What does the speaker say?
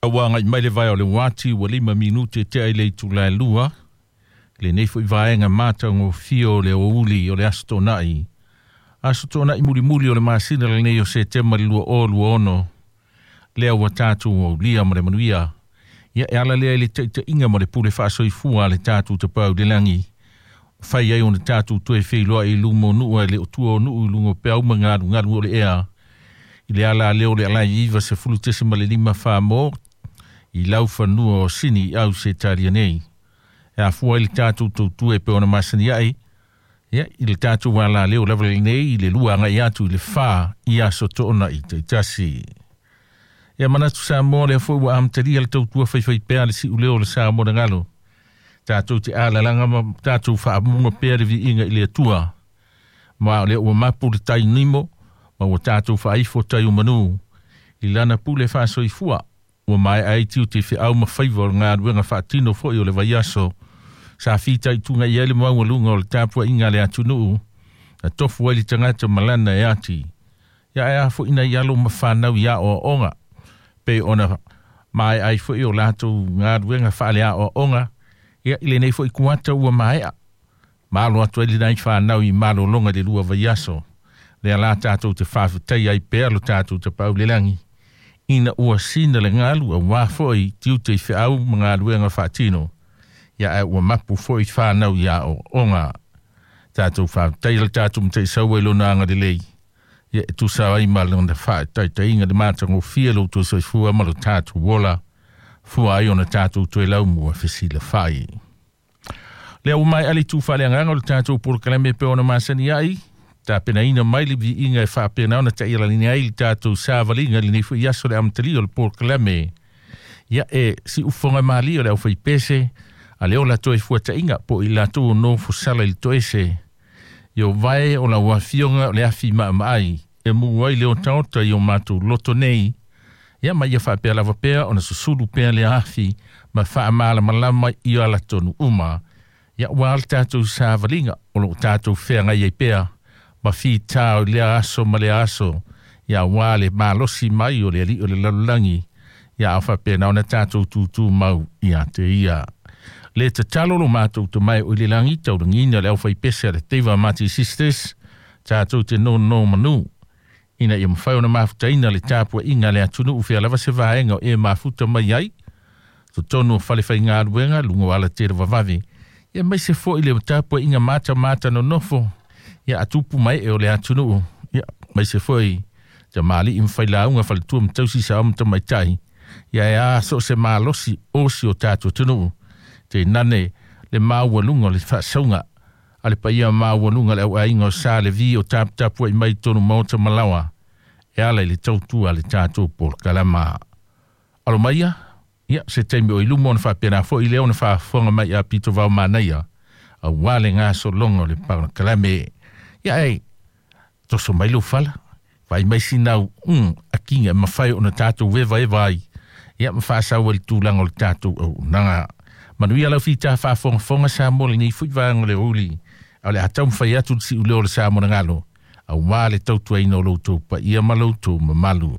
Ua agai mai le vaea o le uati ua 5 minute tea i le itula e 2, lenei foi vaega matagofie o le aoauli o le Aso Toonai. Aso Toonai mulimuli o le masina lenei o Setema i le 2026, lea ua tatou aulia ma le manuia. Ia e ala lea i le taitaiga ma le pule faasoifua a le tatou Tapaau i le lagi. Fai ai ona tatou toe feiloai i luma o nuu ae le o tua o nuu i luga o peau ma galugalu o le ea. I le ala lea o le alai 90.5 Samoa i laufanua o Sini i Ausetalia nei. E afua ai le tatou tautua e pei ona masani ai, ia, i le tatou alaleo lava lenei i le 2 agai atu i le 4 i aso Toonai taitasi. Ia manatu Samoa lea foi ua amatalia le tautua faifaipea le siuleo o le Samoa na galo. Tatou te alalaga ma tatou faamuga pea le viiga i le Atua. Ma o lea ua mapu le tai nimo ma ua tatou faaifo tai o manu i lana pule faasoifua. Ua maea ai tiute feau ma faiva o le galuega faatino foi o le vaiaso. Sa fitaituga i ai le maualuga o le tapuaiga a le atunuu, na tofu ai le tagata ma lana e ati. Ia ae a foi nai alo ma fanau i aoaoga, pei ona maea ai foi o latou galuega faaleaoaoga, ia i lenei foi kuata ua maea. Ma alo atu ai lenai fanau i malologa i le 2 vaiaso. Lea la tatou te faafetai ai pea lo tatou Tapaau i le lagi, ina ua sina le galu auā foi tiute i feau ma galuega faatino. Ia ae ua mapu foi fanau i aoaoga. Tatou faafetai le tatou Mataisaua i lona agalelei. Ia e tusa ai ma lona faataitaiga le matagofie lo outou soifua ma lo tatou ola, fua ai ona tatou toe laumua fesilafai. Lea ua maea le itu faaleagaga o le tatou polokalame e pei ona masani ai, tapenaina mai le viiga e faapena ona taialani ai le tatou savaliga i lenei foi aso le amatalia o le polokalame. Ia e siufoga malie o le aufaipese, a le ola toe fuataiga po o i latou o nofo sala i le toese. Io vae o lau afioga o le afi maamaai, e mu ai le otaota i o matou loto nei. Ia ma ia faapea lava pea ona susulu pea le afi ma faamalamalama i ala tonu uma. Ia ua le tatou savaliga o loo tatou feagai ai pea ma fitā o lea aso ma lea aso. Ia ua le malosi mai o le alii o le lalolagi. Ia a faapena ona tatou tūtū mau ia te ia. Le tatalo lo matou tamae o i le lagi taulagina le aufaipese a le Teiva Mati Sisters, tatou te nono manu. Ina ia mafai ona mafutaina le tapuaiga a le atunuu fea lava se vaega o e mafuta mai ai, totonu o falefaigaluega luga o alatele vavave. Ia mai se foi le tapuaiga matamata nonofo, ia atupu mai e o le atunuu. Ia mai se foi tamalii ma failauga faletua ma tausi sao ma tamaitai. Ia e a so se malosi o si o tatou atunuu. Te nane le maualuga o le faasauga a le paia maualuga le auaiga o sa le vi o taputapuai mai tonu maota malawa e ala i le tautua a le tatou polokalama. Alo maia, ia se taimi o i luma ona faapena foi lea ona faafofoga mai a pito vao manaia auā le gasologa o le polokalame. Ia e toso mai lou fala, vaai mai sinau akiga e mafai ona tatou evaeva ai, ia ma faasau ai le tulaga o le tatou auaunaga. Manuia lau fita faafogafoga Samoa lenei foi vaega o le aoauli, a o le a taumafai atu le siuleo o le Samoa na galo, auā le tautuaina o lo outou paia ma lo outou mamalu.